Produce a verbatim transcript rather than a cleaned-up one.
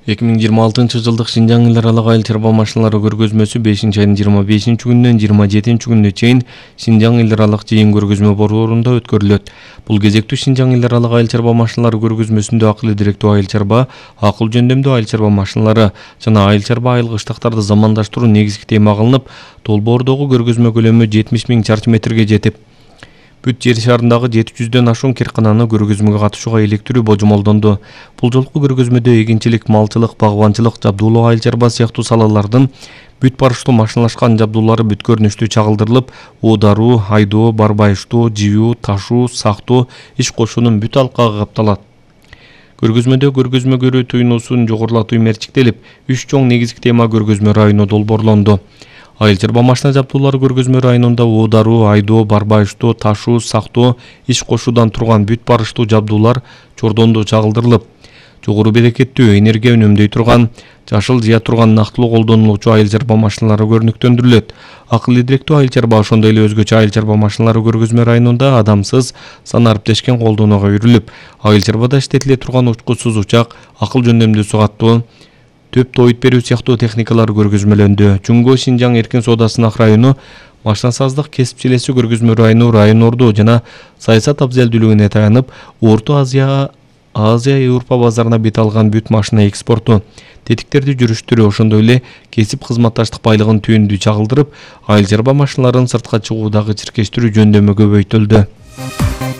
эки миң жыйырма алтынчы жылдык Шинжаң эл аралык айыл чарба машиналары көргөзмөсү бешинчи айдын жыйырма бешинчи күнүнөн жыйырма жетинчи күнүнө чейин Шинжаң эл аралык жыйын көргөзмө борборунда өткөрүлөт. Бул кезектүү Шинжаң эл аралык айыл чарба машиналары көргөзмөсүндө акыл идиректүү айыл чарба, акыл жөндөмдүү айыл чарба машиналары жана айыл чарба айылгычтыктарды замандаштыруу негизги тема кылынып, Толбоордогу көргөзмө көлөмү жетимиш миң чарчы метрге жетип, бүт жер шарындагы жети жүздөн ашуун киркананы көргөзмөгө катышууга иликтирүү божомолдонду. Бул жолку көргөзмөдө эгинчилик, малчылык, багбанчылык, жабдуулоо айыл чарба сыяктуу салалардын бүт барыштуу машиналашкан жабдуулары бүт көрүнүштүү чагылдырылып, оодаруу, айдоо, барбайыштоо, жибүү, ташуу, сактоо, иш кошуунун бүт алкагы капталат. Көргөзмөдө көргөзмө көрүү туюнуусун жогорулатуу мерчиктелип, үч чоң негизги тема көргөзмө району долбоорлонду. Айыл чарба машина жабдуулары көргөзмө районунда оодаруу, айдоо, барбайыштоо, ташуу, сактоо, иш кошуудан турган бүт барыштуу жабдуулар чордондо чагылдырылып, жогору берекеттүү, энергия үнөмдөй турган, жашыл жыя турган нактылуу колдонулуучу айыл чарба машиналары көрүнүктөндүрүлөт. Акыл идиректүү айыл чарба, ошондой эле өзгөчө айыл чарба машиналары көргөзмө районунда адамсыз, сан ариптешкен колдонууга үйрүлүп, айыл чарбада иштетиле турган учкучсуз учак, акыл жөндөмдүү сук аттуу, төп тоойт берүү сыяктуу техникалар көргөзмөлөндү. Жумго Шинжаң эркин соода сынак району, машинасаздык кесипчилеси көргөзмө району, район орду жана саясат абзелдүүлүгүнө таянып, Орто Азия, Азия Европа базарына бет алган бүт машина экспорту, тетиктерди жүрүштүрүү, ошондой эле кесип кызматташтык байлыгын түйүндү чагылдырып, айыл чарба машиналарын сыртка чыгуудагы чиркештирүү жөндөмү көбөйтүлдү.